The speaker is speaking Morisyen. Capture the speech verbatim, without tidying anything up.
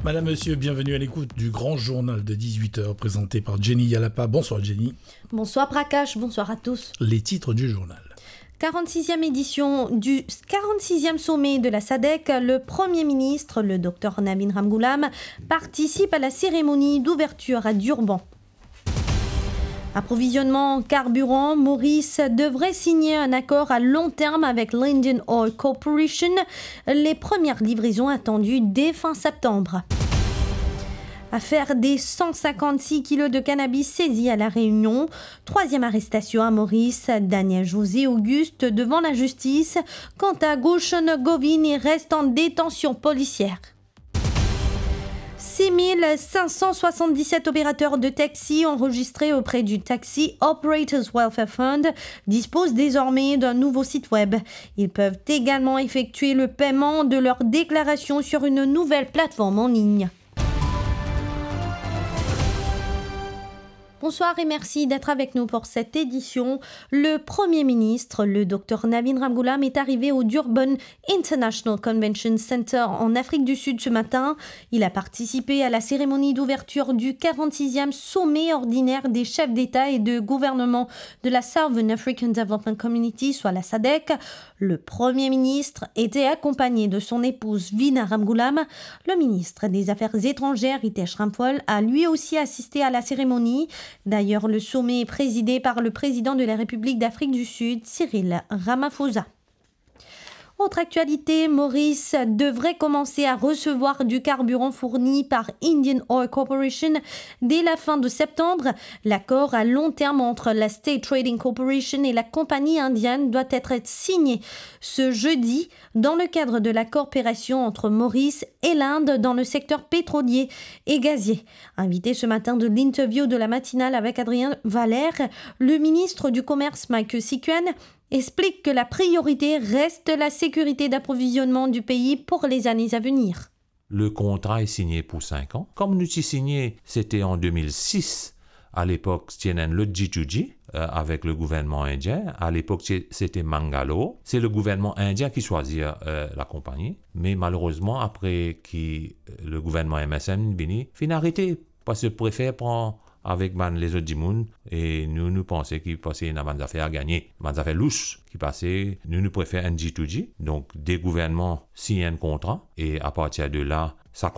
Madame, Monsieur, bienvenue à l'écoute du grand journal de dix-huit heures présenté par Jenny Yalapa. Bonsoir Jenny. Bonsoir Prakash, bonsoir à tous. Les titres du journal. Quarante-sixième édition du quarante-sixième sommet de la sadec, le Premier ministre, le docteur Navin Ramgoolam, participe à la cérémonie d'ouverture à Durban. Approvisionnement en carburant, Maurice devrait signer un accord à long terme avec l'Indian Oil Corporation. Les premières livraisons attendues dès fin septembre. Affaire des cent cinquante-six kilos de cannabis saisis à La Réunion. Troisième arrestation à Maurice. Daniel José Auguste devant la justice. Quant à Gulshan Govin, il reste en détention policière. Six mille cinq cent soixante-dix-sept opérateurs de taxi enregistrés auprès du Taxi Operators Welfare Fund disposent désormais d'un nouveau site web. Ils peuvent également effectuer le paiement de leur déclaration sur une nouvelle plateforme en ligne. Bonsoir et merci d'être avec nous pour cette édition. Le Premier ministre, le docteur Navin Ramgoolam, est arrivé au Durban International Convention Center en Afrique du Sud ce matin. Il a participé à la cérémonie d'ouverture du quarante-sixième sommet ordinaire des chefs d'État et de gouvernement de la Southern African Development Community, soit la sadec. Le Premier ministre était accompagné de son épouse Vina Ramgoolam. Le ministre des Affaires étrangères, Ritesh Ramphal, a lui aussi assisté à la cérémonie. D'ailleurs, le sommet est présidé par le président de la République d'Afrique du Sud, Cyril Ramaphosa. Autre actualité, Maurice devrait commencer à recevoir du carburant fourni par Indian Oil Corporation dès la fin de septembre. L'accord à long terme entre la State Trading Corporation et la compagnie indienne doit être signé ce jeudi dans le cadre de la coopération entre Maurice et l'Inde dans le secteur pétrolier et gazier. Invité ce matin de l'interview de la matinale avec Adrien Valère, le ministre du Commerce, Michael Sikuen, explique que la priorité reste la sécurité d'approvisionnement du pays pour les années à venir. Le kontra est signé pour cinq ans. Comme nous ti signé, c'était en deux mille six. À l'époque, ti ena enn lot G to G, euh, avec le gouvernement indien. À l'époque, ti-, c'était Mangalore. C'est le gouvernement indien qui choisit, euh, la compagnie. Mais malheureusement, après qui, euh, le gouvernement M S N vini, finn arete. Parski zot prefer pran avek bann lezot dimoun, e nou, nou panse ki, parski ena bann zafer a gagne, bann zafer lous ki pase, nou, nou prefer enn G to G. Donk, de gouvernman sign enn kontra, e apartir de la, sa